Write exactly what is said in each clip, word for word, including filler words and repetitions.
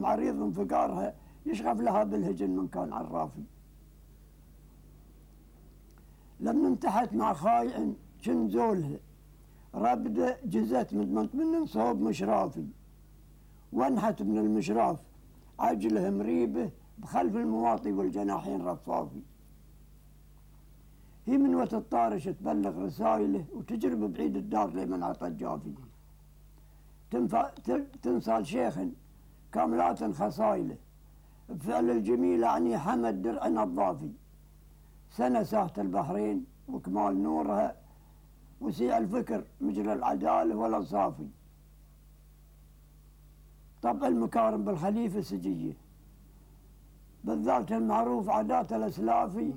عريض انفقارها يشغف لها بالهجن من كان عرافي. لما انتحت مع خايع شنزولها رابدة جزت من من صوب مشرافي، وانحت من المشراف عجله مريبه بخلف المواطي والجناحين رفافي. هي من وقت الطارش تبلغ رسايله وتجرب بعيد الدار لمن عطى جافي. تنصال شيخ كاملات خصايله بفعل الجميل عني حمد درع نظافي. سنة ساحة البحرين وكمال نورها وسيع الفكر مجرى العدالة والأنصافي. طبع المكارم بالخليفة سجية بالذات المعروف عادات الأسلافي.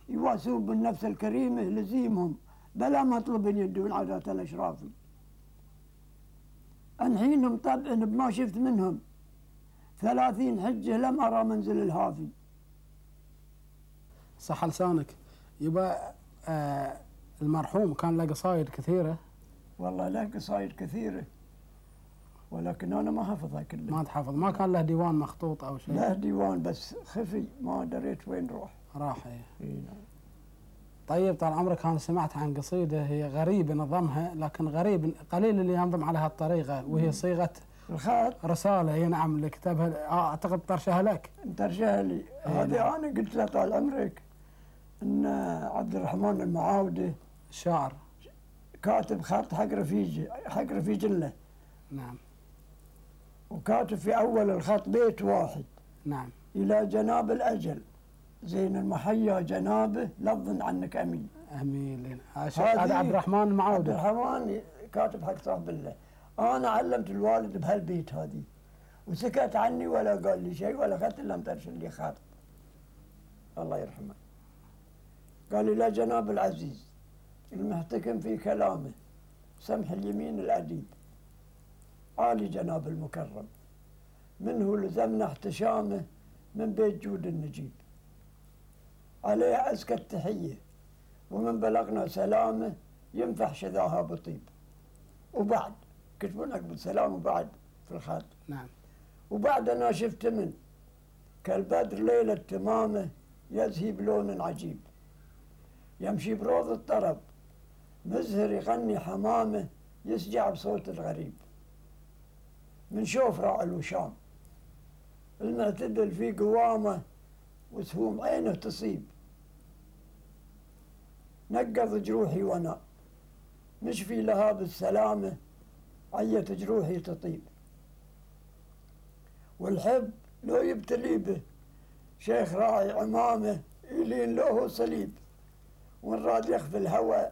يواسون بالنفس الكريمة لزيمهم بلا مطلب يدون عادات الأشرافي. أنحينهم طبعا بما شفت منهم ثلاثين حجة لم أرى منزل الهافي. صح لسانك. يبقى آه المرحوم كان له قصايد كثيرة. والله له قصايد كثيرة ولكن أنا ما حفظها كلها. ما تحفظ؟ ما كان له ديوان مخطوط أو شيء؟ له ديوان بس خفي ما دريت وين روح. راح ايه. اي نعم. طيب طال عمرك أنا سمعت عن قصيدة هي غريب نظمها، لكن غريب قليل اللي ينظم على هالطريقة، وهي صيغة الخط رسالة. هي نعم اللي كتبها أعتقد طرشها لك. طرشها لي. إيه هذه نعم. أنا قلت له طال عمرك إن عبد الرحمن المعاودة الشاعر كاتب خط حق رفيجي حق رفيج له. نعم. وكاتب في أول الخط بيت واحد. نعم. إلى جناب الأجل زين المحيا جنابه لفظ عنك أمين. أمين. هذا عبد الرحمن المعاودة. عبد الرحمن كاتب حق صاحب الله. أنا علمت الوالد بهالبيت هذه وسكت عني ولا قال لي شيء ولا أخذت إلا مترشل لي خط. الله يرحمه. قال لي لا جناب العزيز المحتكم في كلامه سمح اليمين الأديب عالي جناب المكرم منه لزمنا احتشامه من بيت جود النجيب عليه أزكى التحية ومن بلغنا سلامه ينفح شذاها بطيب. وبعد كتبوا عقب سلام وبعد في الخط. نعم. وبعد أنا شفت من كالبدر ليلة تمامه يزهي بلون عجيب يمشي بروض الطرب مزهر يغني حمامه يسجع بصوت الغريب من شوف راعي الوشام المعتدل في قوامه وسهوم عينه تصيب نقض جروحي وانا نشفي لها بالسلامة عية جروحي تطيب. والحب لو يبتلي به شيخ راعي عمامه يلين له صليب وان راد يخفي الهوى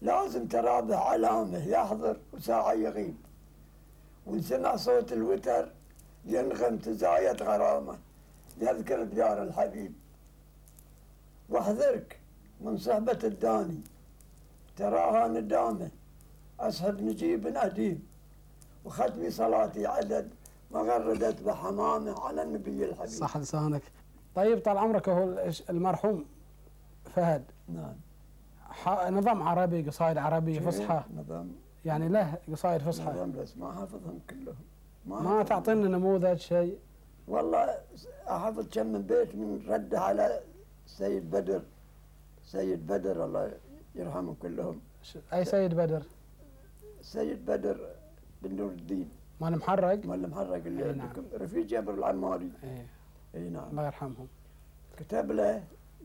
لازم ترابه علامه يحضر وساعة يغيب وان سمع صوت الوتر ينغم تزايد غرامه يذكر ديار الحبيب. واحذرك من صحبة الداني تراها ندامه أسحب نجيب أديم وختمي صلاتي عدد ما غردت بحمامه على النبي الحبيب. صح لسانك. طيب طال عمرك هو المرحوم فهد. نعم. نظام عربي قصائد عربية فصحى. نظام يعني له قصائد فصحى. نظام بس ما حافظهم كلهم. ما, ما تعطينا نموذج شيء؟ والله أحفظ كم من بيت من رده على سيد بدر. سيد بدر الله يرحمهم كلهم. أي سيد بدر؟ سيد بدر بن نور الدين. مال محرق؟ مال محرق اللي ايه عندكم. نعم. رفيق جابر العماري. ايه. اي نعم. الله يرحمهم. كتب له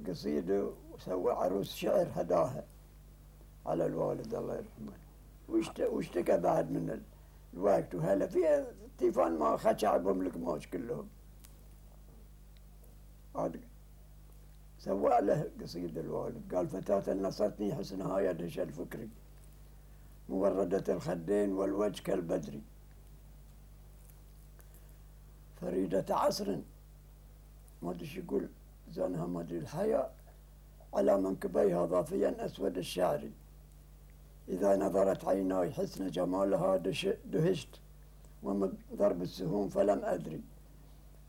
قصيدة وسوى عروس شعر هداها على الوالد الله يرحمه. واشتكى بعد من الوقت وهلا فيها تيفان ما خشع بهم القماش كلهم. عاد سوى له قصيدة الوالد قال فتاة نصرتني حسنها يدهش الفكري موردة الخدين والوجه كالبدري فريدة عصر ما ادري ايش يقول زانها ما ادري الحياء على منكبيها ضافيا اسود الشعر اذا نظرت عيناي حسن جمالها دهشت ومن ضرب السهوم فلم ادري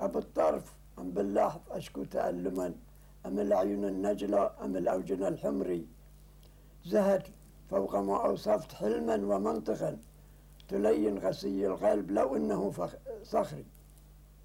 ابو الطرف ام باللحظ اشكو تألما ام العيون النجلة ام الاوجن الحمري زهت فوق ما اوصفت حلما ومنطقا تلين غسي القلب لو انه صخري